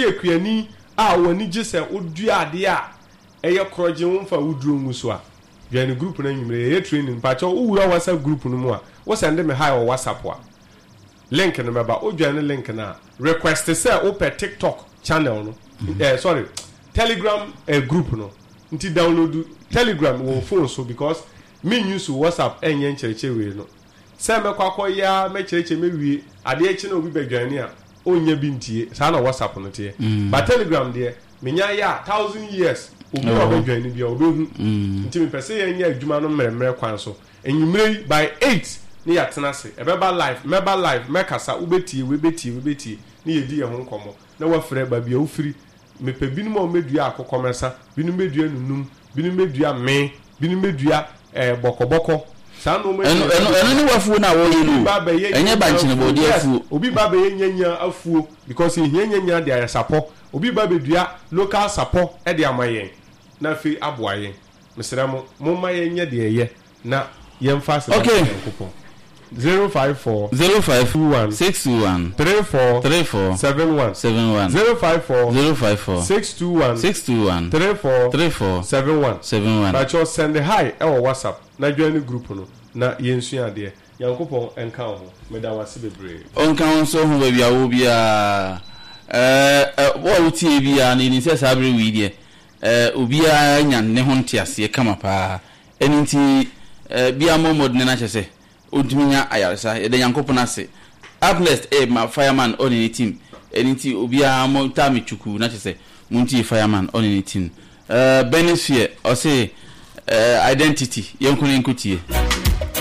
Woyɛ kuani a w'ani gye sɛ wodua adeɛ a ɛyɛ korɔgyenn womfa woduro ngu so a, join group no anwumerɛ yɛyɛ training. Mpakyɛw wowura WhatsApp group no mu a, wo sɛnde me hi wɔ WhatsApp a, link no bɛba. Wo join link no a, request sɛ wopɛ TikTok channel no, eh, sorry, Telegram eh, group no. Nti download Telegram wɔ wo phone so because me use WhatsApp ɛnyɛ nkyerɛkyerɛ wei no. Sɛ mɛkɔ akɔyɛ ara mɛkyerɛkyerɛ mɛwie, adeɛ kye na obi bɛdwane a, ɔnnya bi ntie. Saa na WhatsApp no teɛ. But Telegram deɛ, menya yɛ a, thousand years, obi a ɔbɛdwane biara, ɔbɛhu. Nti mepɛ sɛ yɛnyɛ adwuma no mmerɛmmerɛ kwan so. Anwummerɛ yi, by eight ne yɛatena ase. Ɛbɛba live, mɛba live, mɛkasa, wobɛtie, wei bɛtie, wei bɛtie, ne yɛdi yɛn ho nkɔmmɔ. Na woafrɛ baabi a wofiri. Mepɛ binom a wɔbɛdua akokɔmɛsa, binom bɛdua nunum, binom bɛdua mee, binom bɛdua eh, bɔkɔbɔkɔ. Saa nnoɔma yi Ɛno, nyinaa ɛno, ɛno ne w'afuo no a wɔreyɛ Obi no o. ba bɛyɛ Ɛnyɛ nyanya bankye afuo. bɔɔdeɛ Yes, afuo. obi ba bɛyɛ nyanya afuo because yɛhia nyanya de ayɛ sapɔ. Obi ba bɛdua local sapɔ de ama yɛn na afei aboa yɛn. Mesrɛ mo, momma yɛnyɛ deɛ ɛyɛ na yɛmfa aseda mma Okay. Nyankopɔn. 054 05 21 621 34 34 71 71 054 054 621 621 34 34 71 71. Pakyɛw send hi ɛwɔ WhatsApp na join group no na yɛnsua adeɛ. Nyankopɔn nka wo ho. Meda wo ase bebree. Ɔnka wo nso ho baabi a wowɔ biara. Ɛɛ, ɛ, wo a wotie biara no, yɛnim sɛ saa bere wei deɛ, ɛɛ, obiara anya ne ho nteaseɛ kama paa. Ɛno nti, ɛɛ, biara mmɔ mmɔdene na kyerɛ sɛ, ɔntumi nya ayaresa. Yɛda Nyankopɔn ase. Up next ɛyɛ ma Fireman ɔne ne team. Ɛno nti obiara mo taa me twukuu na kyerɛ sɛ montie Fireman ɔne ne team. Ɛɛ, Benny Sphere ɔse ɛɛ, identity, yɛnkɔ na yɛnkɔtie.